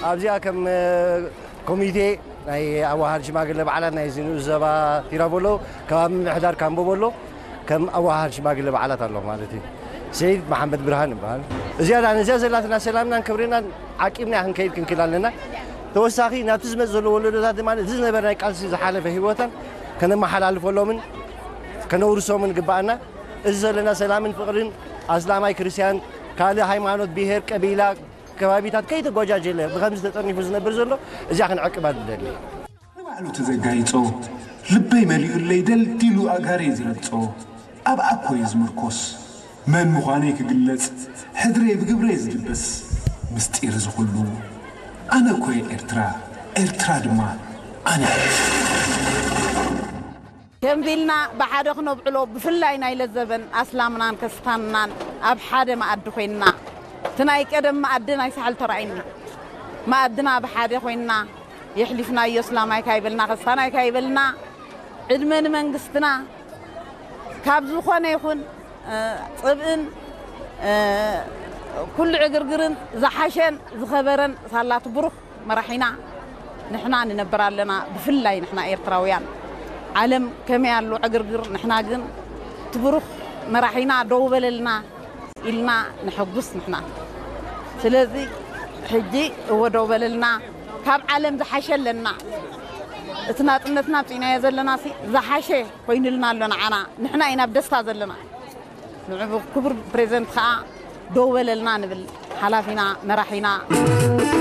ኣብዚኣ ከም ኮሚቴ ናይ ኣዋሃድ ሽማግለ በዓላት ናይ ዝንኡ ዘባ ቲራቦሎ ከባቢ ምምሕዳር ካምቦቦሎ ከም ኣዋሃድ ሽማግለ በዓላት ኣሎ ማለት እዩ። ሰይድ መሓመድ ብርሃን ይበሃል። እዚኣ ዳ ነዚኣ ዘላትና ሰላምናን ክብርናን ዓቂብና ክንከይድ ክንክል ኣለና። ተወሳኺ ናብቲ ዝመጽእ ዘሎ ወለዶታት ድማ እቲ ዝነበረ ናይ ቃልሲ ዝሓለፈ ህይወታን ከነመሓላልፈሎምን ከነውርሶምን ግባኣና። እዚ ዘለና ሰላምን ፍቕርን ኣስላማይ ክርስቲያን ካልእ ሃይማኖት ብሄር ቀቢላ ከባቢታት ከይተጓጃጀለ ብኸምዚ ተጠርኒፉ ዝነብር ዘሎ እዚኣ ክንዕቅባ ንደሊ። ንባዕሉ ተዘጋይጾ ልበይ መሊኡለይ ደልዲሉ ኣጋረይ ዝረግጾ ኣብ ኣኮይ ዝምርኮስ መን ምዃነይ ክግለጽ ሕድረይ ብግብረይ ዝድበስ ምስጢር ዝኹሉ ኣነ ኮየ ኤርትራ ኤርትራ ድማ ኣነ ከምዚ ኢልና ብሓደ ክነብዕሎ ብፍላይ ናይ ለዘበን ኣስላምናን ከስታንናን ኣብ ሓደ መኣዲ ኮይንና እቲ ናይ ቀደም መኣዲ ናይ ሳሕል ተራእይኒ መኣድና ብሓደ ኮይንና የሕሊፍናዮ እስላማይ ካይበልና ከስታናይ ካይበልና ዕድመ ንመንግስትና ካብ ዝኾነ ይኹን ፅብእን ኩሉ ዕግርግርን ዝሓሸን ዝኸበረን ሳላት ብሩኽ መራሒና ንሕና ንነብር ኣለና። ብፍላይ ንሕና ኤርትራውያን ዓለም ከመይ ኣሎ ዕግርግር፣ ንሕና ግን እቲ ብሩኽ መራሒና ደው በለልና ኢልና ንሐጉስ ንሕና። ስለዚ ሕጂ እወ ደው በለልና፣ ካብ ዓለም ዝሓሸ ኣለና። እቲ ናጽነትና ኣብፂናዮ ዘለና ሲ ዝሓሸ ኮይኑልና ኣሎ ንዓና። ንሕና ኢና ብደስታ ዘለና። ንዑ ክቡር ፕሬዚደንት ከዓ ደው በለልና ንብል ሓላፊና መራሒና።